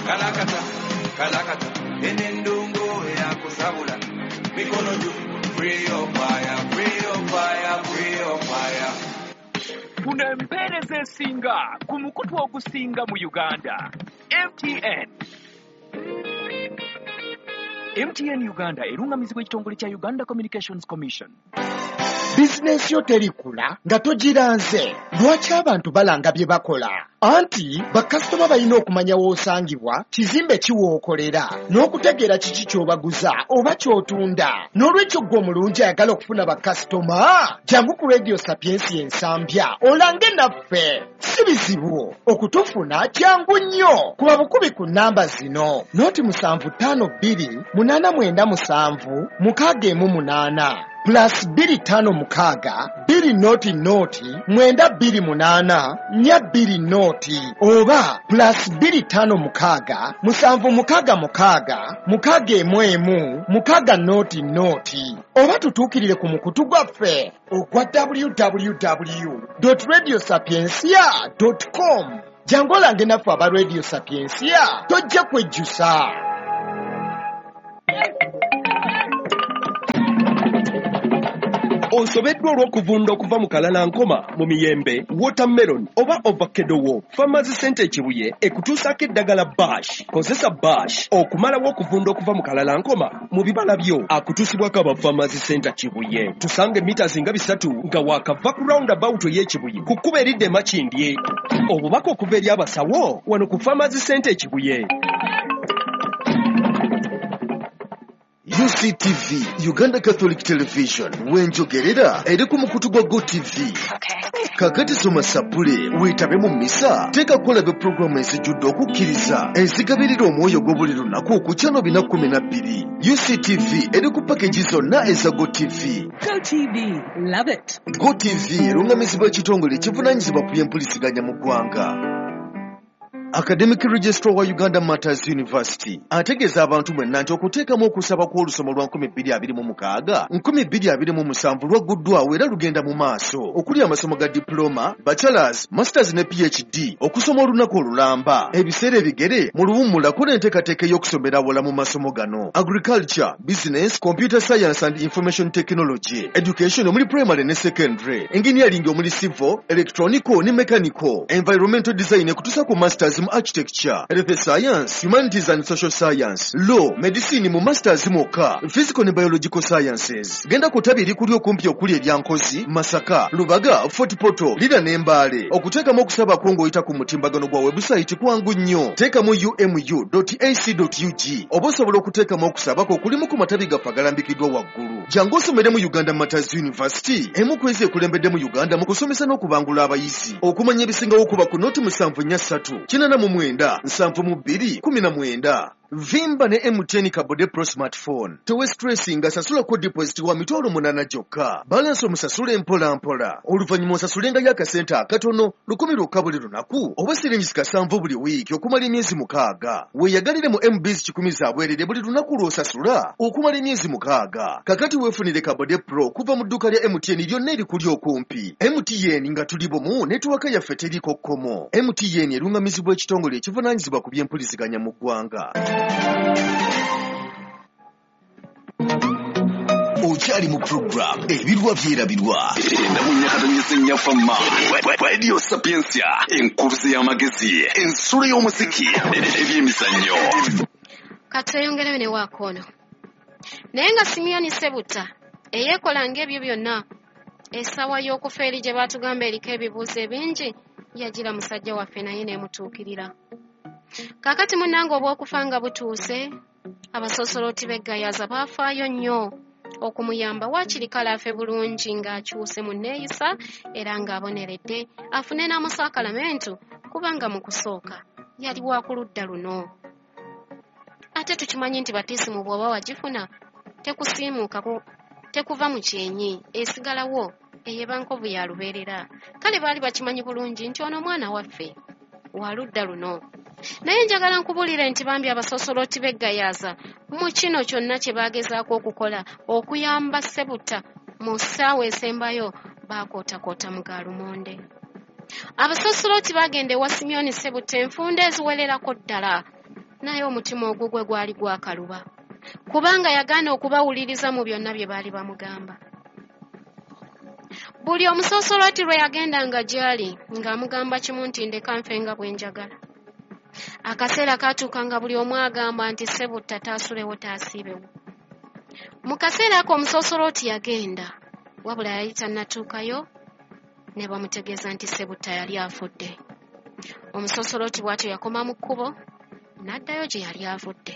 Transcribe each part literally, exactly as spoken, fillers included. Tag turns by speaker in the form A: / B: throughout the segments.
A: Kalakata, kalakata, enendongo eyakusabula. Mikono juu, free your fire, free your fire, free your fire.
B: Kuno empeereza esinga ku mukutu ogusinga mu Uganda, M T N. M T N Uganda erungamizibwa ekitongole kya Uganda Communications Commission.
C: Bizinensi yo terikula nga togiranze. Lwaki abantu balanga bye bakola? Anti bakasitoma balina okumanya w'osangibwa, kizimbe ki w'okolera, n'okutegeera kiki ky'obaguza oba ky'otunda. N'olwekyo ggwe omulungi ayagala okufuna bakasitoma, jangu ku Radio Sapientia Ensambya olange naffe. Si bizibu okutufuna, kyangu nnyo. Kuba bukubi ku nnamba zino: noti musanvu ttaano bbiri munaana mwenda musanvu mukaaga emu munaana plus bbiri ttaano mukaaga bbiri noti noti mwenda bbiri munaana nnya bbiri noti oba plus bbiri ttaano mukaaga musanvu mukaaga mukaaga mukaaga emu emu mukaaga noti noti oba tutuukirire ku mukutu gwaffe ogwa w w w dot radio sapientia dot com. Jangu olange naffe aba Radio Sapientia, tojja kwejjusa.
D: Osobeddwa olw'okuvunda okuva mu kalalankoma, mu miyembe, watermelon oba avocado wo. Farmers Center e Kibuye ekutuusaako eddagala Bash. Kozesa Bash okumalawo okuvunda okuva mu kalalankoma mu bibala byo. Akutuusibwako aba Farmers Center Kibuye. Tusange mita zinga bisatu nga waakava ku roundabout ey'e Kibuye ku kkubo eridda e Makindye. Obubaka okuva eri abasawo wano ku Farmers Center e Kibuye.
E: U C T V, Uganda Catholic Television, wenjogerera eri ku mukutu gwa Go T V. Kakati soma sapule, weetabe mu misa, teeka kulabe programu ezijjudde okukkiriza, ezigabirira omwoyo gwo buli lunaku ku channel bina kkumi na bbiri. U C T V eri ku package zonna eza Go T V.
F: Go T V, love it.
E: Go T V erungamizibwa ekitongole ekivunaanyizibwa ku by'empuliziganya mu ggwanga. Academic Registrar wa Uganda Matters University ategeeza abantu mwenna nti okuteekamu okusaba kw'olusoma lwa nkumi bbiri abiri mu mukaaga nkumi bbiri abiri mu musanvu lwagguddwawo era lugenda mu maaso okuli amasomo ga diploma, bachelors, masters ne P H D, okusoma olunaku olulamba, ebiseera ebigere mu luwummula kola enteekateeka ey'okusomera awala mu masomo gano: agriculture, business, computer science and information technology, education omuli primary ne secondary, engineering omuli civil, electronical ne mechanical, environmental design ekutuusa ku masters mu architecture, health science, humanities and social science, law, medicine mu masters mwokka, physical ne biological sciences. Genda ku ttabi erikuli okumpi okuli erya Nkozi, Masaka, Lubaga, Fort Portal, Lira ne Mbale. Okuteekamu okusaba kwo ng'oyita ku mutimbagano gwa website kwangu nnyo. Teekamu u m u dot a c dot u g oba osobola okuteekamu okusaba kwo okulimu ku matabi gaffe agalambikiddwa waggulu. Jangu osomere mu Uganda Matters University, emu ku ezo ekulembedde mu Uganda mu kusomesa n'okubangula abayizi. Okumanya ebisingawo kuba ku noti musanvu nnya ssatu kinaana mu mwenda nsanvu mu bbiri kumi na mwenda. Vimba ne M T N Kabode Pro smartphone. Tewe stressinga, sasulako deposit wa mitwalo munaana gyokka. Balance omusasule mpola mpola. Oluvannyuma osasulengayo akasente akatono lukumi lwokka buli lunaku oba siringi kasanvu buli wiiki okumala emyezi mukaaga. Weeyagalire mu M Bs kikumi za bwerere buli lunaku lw'osasula okumala emyezi mukaaga. Kakati weefunire Kabode Pro kuva mu dduuka lya M T N lyonna erikuli okumpi. M T N nga tuli bumu, netiwaaka yaffe teriiko kkomo. M T N erungamizibwa ekitongole ekivunaanyizibwa ku by'empuliziganya mu ggwanga.
G: Okyali mu program Ebirwa Byerabirwa. Radio Sapientia, enkuruze y'amagezi, ensulo y'omuziki, ebyemizannyo.
H: Katweyongereyo ne waakono. Naye nga Simiyoni Sebuta eyeekola ng'ebyo byonna, essaawa y'okufa eri gye baatugamba eriko ebibuuzo ebingi, yagira musajja waffe naye n'emutuukirira. Kaakati munnange obw'okufa nga butuuse, abasoosolooti b'e Gayaza baafaayo nnyo okumuyamba waakiri kale afe bulungi ng'akyuse mu nneeyisa era ng'aboneredde afune n'amusakalamentu kubanga mu kusooka yali wa ku ludda luno. Ate tukimanyi nti batiisimu bw'oba wagifuna tekusiimuukako, tekuva mu kyenyi, esigalawo eyeba nkovu ya lubeerera. Kale baali bakimanyi bulungi nti ono omwana waffe wa ludda luno. Naye njagala nkubuulire nti bambi abasoosolooti b'e Gayaza mu kino kyonna kye baagezaako okukola okuyamba Sebuta mu ssaawa esembayo baakootakoota mu ga lumonde. Abasosoloti bagenda ewa Simyoni Ssebutta enfunda eziwererako ddala, naye omutima ogugwe gwali gwakaluba, kubanga yagaana okubawuliriza mu byonna bye baali bamugamba. Buli omusosoloti lwe yagendanga gy'ali ng'amugamba kimu nti ndeka nfe nga bwe njagala. Akaseera kaatuuka nga buli omu agamba nti Ssebutta taasulewo taasiibewo. Mu kaseera ako omusosoloti yagenda, wabula yali tannatuukayo ne bamutegeeza nti Ssebutta yali afudde. Omusosoloti bw'atyo yakoma mu kkubo n'addayo gye yali avudde.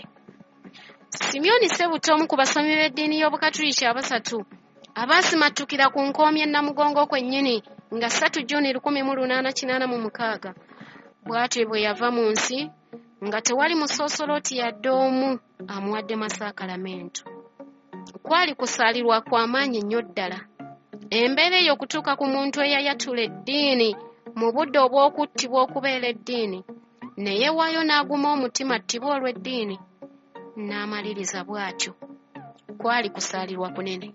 H: Simyoni Ssebutta, omu ku basomi b'eddiini y'Obukatuliki abasatu abaasimattukira ku nkoomi e Namugongo kwennyini nga ssatu Juni lukumi mu lunaana kinaana mu mukaaga, bw'atyo bwe yava mu nsi nga tewali musosoloti yadde omu amuwadde masaakalamentu. Kwali kusaalirwa kwa maanyi nnyo ddala. Embeera eyo okutuuka ku muntu eyayatula eddiini mu budde obw'okuttibwa okubeera eddiini, ne yeewaayo n'aguma omutima attibwe olw'eddiini, n'amaliriza bw'atyo. Kwali kusaalirwa kunene.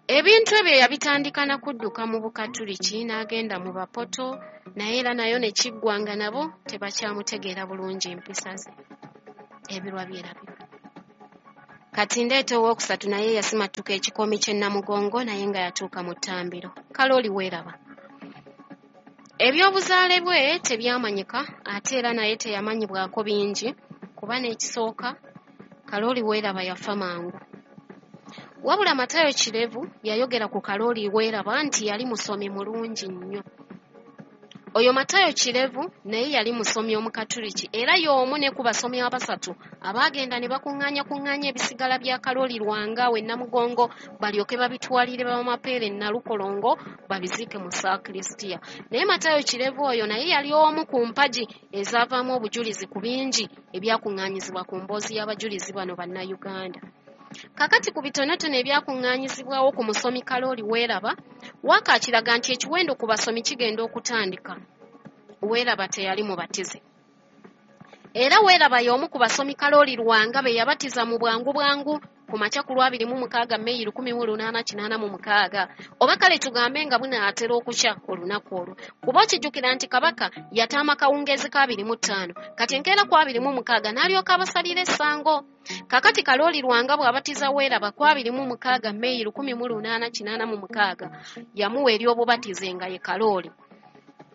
H: Ebintu ebyo yabitandika na kudduka mu Bukatuliki n'agenda mu Bapoto, naye era nayo ne kiggwa nga nabo tebakyamutegeera bulungi mpisa ze. Ebirwa byerabirwa. Kati ndeeta owookusatu naye yasimattuka ekikoomi ky'e Namugongo naye nga yatuuka mu ttambiro. Kalooli weeraba. Ebyobuzaale bwe tebyamanyika, ate era naye teyamanyibwako bingi, kuba n'ekisooka Kalooli weeraba yafa mangu. Wabula Matayo Kirevu yayogera ku Kalooli weeraba nti yali musomi mulungi nnyo. Oyo Matayo Kirevu naye yali musomi Omukatuliki, era y'omu ne ku basomi abasatu abaagenda ne bakuŋŋaanya kuŋŋaanya ebisigala bya Kalooli Lwanga we Namugongo balyoke babitwalire Bamapeere e Nalukolongo babiziike mu Saakrisitiya. Naye Matayo Kirevu oyo naye yali omu ku mpagi ezaavaamu obujulizi ku bingi ebyakuŋŋaanyizibwa ku mboozi y'abajulizi bano Bannayuganda. Kakati ku bitonotono ebyakuŋŋaanyizibwawo ku musomi Kalooli Weeraba, Waaka akiraga nti ekiwendo ku basomi kigenda okutandika. Weeraba teyali mubatize. Era Weeraba y'omu ku basomi Kalooli Lwanga be yabatiza mu bwangu bwangu ku makya ku lwabiri mu mukaaga Meyi lukumi mu lunaana kinaana mu mukaaga, oba kale tugambe nga bunaatera okukya olunaku olwo. Kuba okijjukira nti Kabaka yataama kawungeezi ka abiri mu ttaano, kati enkeera ku abiri mu mukaaga n'alyoka abasalira essango. Kakati Kalooli Lwanga bw'abatiza Weeraba ku abiri mu mukaaga Meyi lukumi mu lunaana kinaana mu mukaaga, yamuwa ery'obubatize nga ye Kalooli.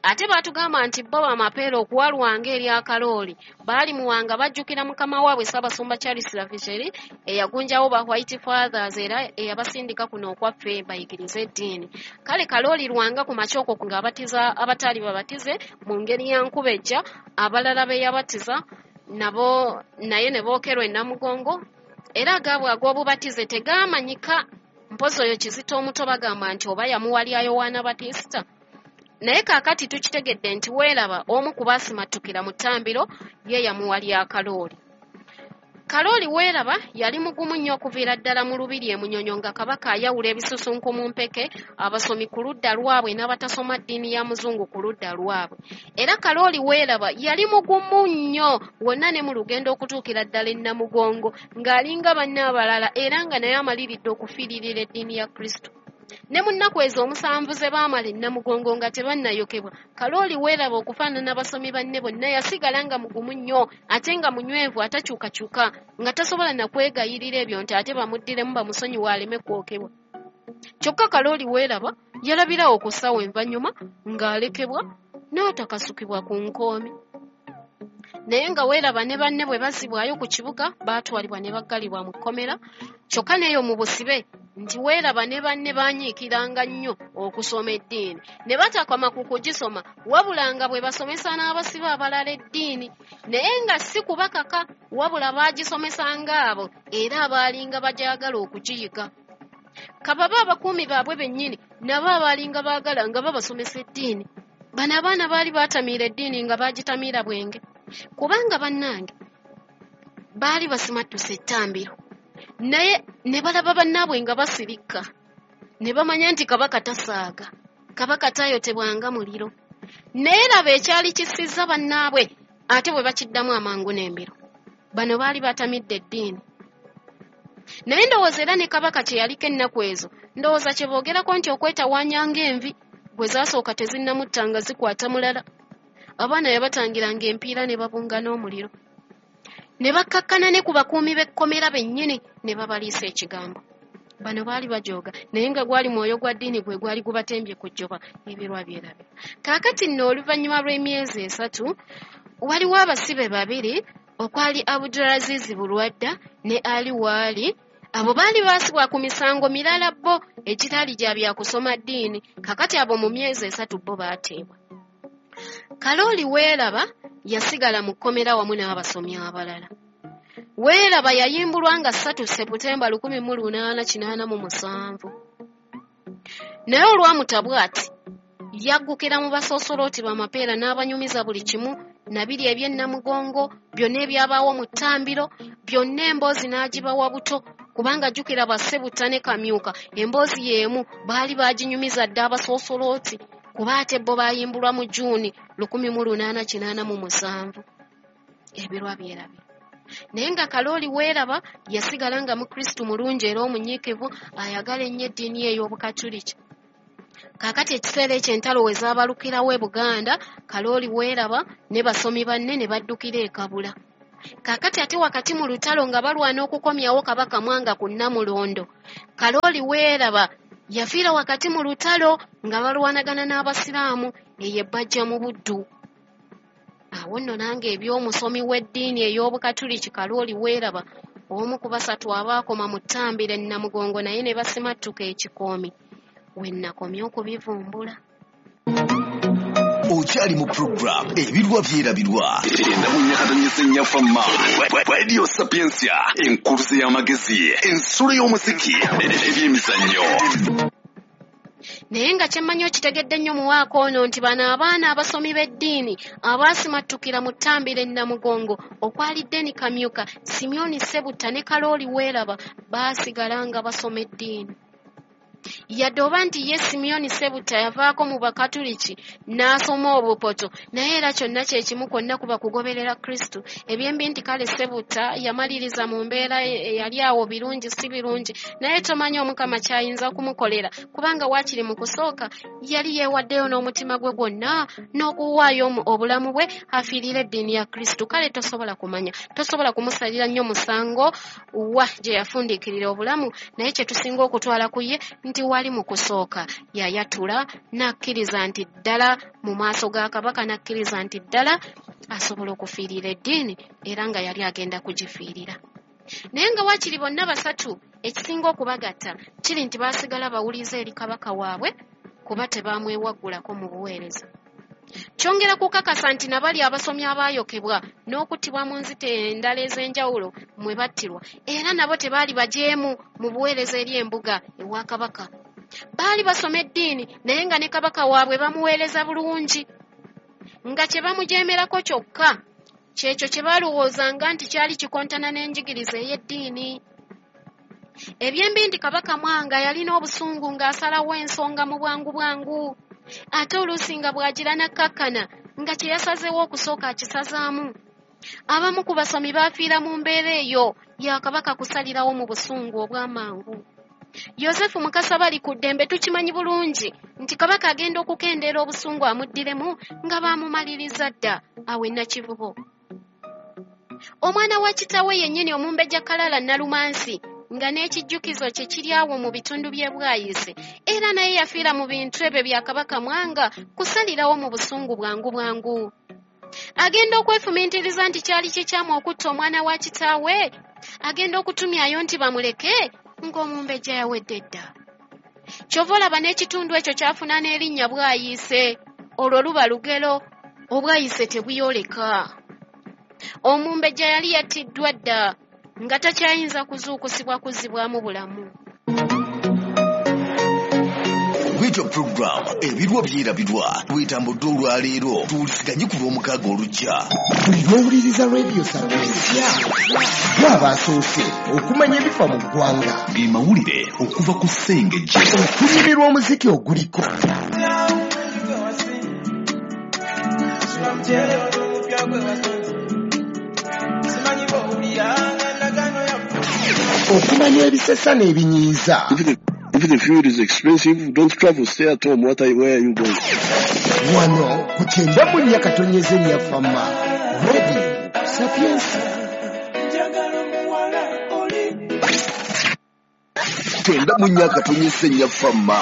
H: Ate baatugamba nti bo Bamapeere okuwa Lwanga erya Kalooli baalimuwanga bajjukira mukama waabwe Ssaabasumba Charles Lavigerie eyagunjawo ba White Fathers era eyabasindika kuno okwaffe bayigirize eddiini. Kale Kalooli Lwanga ku makya okwo ng'abatiza abataali babatize mu ngeri ya nkubejja, abalala be yabatiza nabo naye ne bookerwa e Namugongo, era agaabwe ag'obubatize tegaamanyika. Mpozi oyo Kizito omuto bagamba nti oba yamuwa lya Yowaana Batisita. Naye kaakati tukitegedde nti Weeraba omu ku baasimattukira mu ttambiro ye yamuwa lya Kalooli. Kalooli Weeraba yali mugumu nnyo okuviira ddala mu lubiri e Munyonyo nga Kabaka ayawula ebisusunku mu mpeke, abasomi ku ludda lwabwe n'abatasoma ddiini ya muzungu ku ludda lwabwe. Era Kalooli Weeraba yali mugumu nnyo wonna ne mu lugendo okutuukira ddala e Namugongo ng'alinga banne abalala, era nga naye amaliridde okufiiririra eddiini ya Kristo. Ne mu nnaku ezo omusanvu ze baamala e Namugongo nga tebannayokebwa, Kalooli Weeraba okufaanana abasomi banne bonna yasigala nga mugumu nnyo ate nga munywevu atakyukakyuka, nga tasobola na kwegayirira ebyo nti ate bamuddiremu bamusonyiwe aleme kwokebwa. Kyokka Kalooli Weeraba yalabirawo ku ssaawa envannyuma ng'alekebwa n'atakasukibwa ku nkoomi. Naye nga Weeraba ne banne bwe bazzibwayo ku kibuga baatwalibwa ne baggalibwa mu kkomera, kyokka n'eyo mu busibe nti Weeraba ne banne baanyiikiranga nnyo okusoma eddiini. Ne batakoma ku kugisoma, wabula nga bwe basomesa n'abasibe abalala eddiini, naye nga si kubakaka, wabula baagisomesanga abo era abaalinga bagyagala okugiyiga. Kababa abakuumi baabwe bennyini nabo abaalinga baagala nga babasomesa eddiini. Bano abaana baali baatamiira eddiini nga baagitamiira bwenge, kubanga bannange baali basimattuse ettambiro, naye ne balaba bannaabwe nga basirika, ne bamanya nti Kabaka tasaaga, Kabaka tayotebwanga muliro. Naye laba ekyali kisizza bannaabwe ate bwe bakiddamu amangu n'embiro. Bano baali batamidde eddiini. Naye ndowooza era ne Kabaka kye yaliko ennaku ezo, ndowooza kye boogerako nti okwetawaanya ng'envi Bwe zaasooka tezinnamutta nga zikwata mulala. Abaana yabatangiranga empiira ne babunga n'omuliro. Ne bakkakkana ne ku bakuumi b'ekkomera bennyini ne babaliisa ekigambo. Bano baali bajooga naye nga gwali mwoyo gwa ddiini gwe gwali gubatembye ku jjoba ebirwa byerabira. Kaakati nno oluvannyuma lw'emyezi esatu waliwo abasibe babiri okwali Abdulaziz Bulwadda ne Ali Waali. Abo baali baasibwa ku misango mirala bo egitali gya byakusoma ddiini. Kaakati abo mu myezi esatu bo baateebwa. Kalooli Weeraba yasigala mu kkomera wamu n'abasomi abalala. Weeraba yayimbulwa nga ssatu Seputemba lukumi mu lunaana kinaana mu musanvu. Naye olwamuta bw'ati yaggukira mu basoosolooti b'amapeera n'abanyumiza buli kimu nabiri eby'ennamugongo byonna ebyabaawo mu ttambiro byonna emboozi n'agibawa buto kubanga jjukira Bassebutta ne Kamyuka emboozi y'emu baali baaginyumiza dda abasoosolooti kuba ate bo baayimbulwa mu Juuni lukumi mu lunaana kinaana mu musanvu. Ebirwa byerabira. Naye nga Kalooli Weeraba yasigala nga Mukristu mulungi era omunyiikivu ayagala ennyo eddiini ye ey'Obukatuliki. Kaakati ekiseera ekyo entalo we zaabalukirawo e Buganda, Kalooli Weeraba ne basomi banne ne baddukira e Kabula. Kaakati ate wakati mu lutalo nga balwana okukomyawo Kabaka Mwanga ku Nnamulondo, Kalooli Weeraba yafiira wakati mu lutalo nga balwanagana n'Abasiraamu eyo ebbajja mu Buddu. Awo nno nange eby'omusomi w'eddiini ey'Obukatuliki Kalooli Weeraba omu ku basatu abaakoma mu ttambiro e Namugongo naye ne basimattuka ekikoomi we nnakomye okubivumbula.
G: Okyali mu program Ebirwa Byerabirwa endamunyakatonyesa Radio Sapientia, enkuluze y'amagezi, ensulo y'omuziki, ebyemizannyo.
H: Naye nga kyemmanyi okitegedde nnyo muwaako ono nti bano abaana abasomi b'eddiini abaasimattukira mu ttambiro e Namugongo okwali Deni Kamyuka, Simeoni Ssebutta ne Kalooli Weeraba baasigala nga basoma eddiini. Yadde oba nti ye Simeoni Ssebutta yavaako mu Bakatuliki n'asoma obupoto, naye era kyonna kye kimu kwonna kuba kugoberera Kristo. Ebyembi nti kale Ssebutta yamaliriza mu mbeera eyali awo birungi si birungi, naye tomanyi Omukama ky'ayinza kumukolera kubanga waakiri mu kusooka yali yeewaddeyo n'omutima gwe gwonna n'okuwaayo obulamu bwe afiirire eddiini ya Kristo. Kale tosobola kumanya, tosobola kumusalira nnyo musango wa gye yafundiikirira obulamu, naye kye tusinga okutwala ku ye nti wali mu kusooka yayatula n'akkiriza nti ddala mu maaso ga Kabaka, n'akkiriza nti ddala asobola okufiirira eddiini era nga yali agenda kugifiirira. Naye nga waakiri bonna basatu ekisinga okubagatta kiri nti baasigala bawulize eri Kabaka waabwe kuba tebaamwewaggulako mu buweereza. Kyongera kukakasa nti nabali abasomi abaayokebwa n'okuttibwa mu nzita endala ez'enjawulo mwe battirwa era nabo tebaali bajeemu mu buweereza eri embuga ewa Kabaka. Baali basoma eddiini naye nga ne Kabaka waabwe bamuweereza bulungi, nga kye bamujeemerako kyokka kyekyo kye baalowoozanga nti kyali kikontana n'enjigiriza ey'eddiini. Ebyembi nti Kabaka Mwanga yalina obusungu ng'asalawo ensonga mu bwangu bwangu, ate oluusi nga bw'agira n'akkakkana nga kye yasazeewo okusooka akisazaamu. Abamu ku basomi baafiira mu mbeera eyo ya Kabaka kusalirawo mu busungu obw'amangu. Yosefu Mukasa Balikuddembe tukimanyi bulungi nti Kabaka agenda okukendeera obusungu amuddiremu nga baamumaliriza dda awo e Nakivubo. Omwana wa kitaawe yennyini Omumbejja Kalala Nalumansi nga n'ekijjukizo kye kiri awo mu bitundu by'e Bwayise era naye yafiira mu bintu ebyo bya Kabaka Mwanga kusalirawo mu busungu bwangu bwangu. Agenda okwefumiitiriza nti kyali kikyamu okutta omwana wa kitaawe, agenda okutumyayo nti bamuleke ng'omumbejja yawedde dda. Ky'ova olaba n'ekitundu ekyo kyafuna n'erinnya Bwayise, olwo luba lugero, Obwayise tebuyoleka. Omumbejja yali yattiddwa dda nga takyayinza kuzuukusibwa kuzzibwamu bulamu.
G: Bwetyo program Ebirwa Byerabirwa bwetambudde olwaleero. Tuwuliziganye ku lw'omukaaga olujja.
C: Buli lw'owuliriza Radio Sapientia gw'aba asoose okumanya ebifa mu ggwanga,
G: ge mawulire okuva ku Ssengejje,
C: okunyumirwa omuziki oguliko, okumanya ebisesa n'ebinyiiza,
I: If the fuel is expensive, don't travel, stay at home. What are you, where are you going?
C: Wano ku kyenda mu nnya katonyeze nnya Fama Radio Sapiensia.
G: Kyenda mu nnya katonyeze nnya Fama.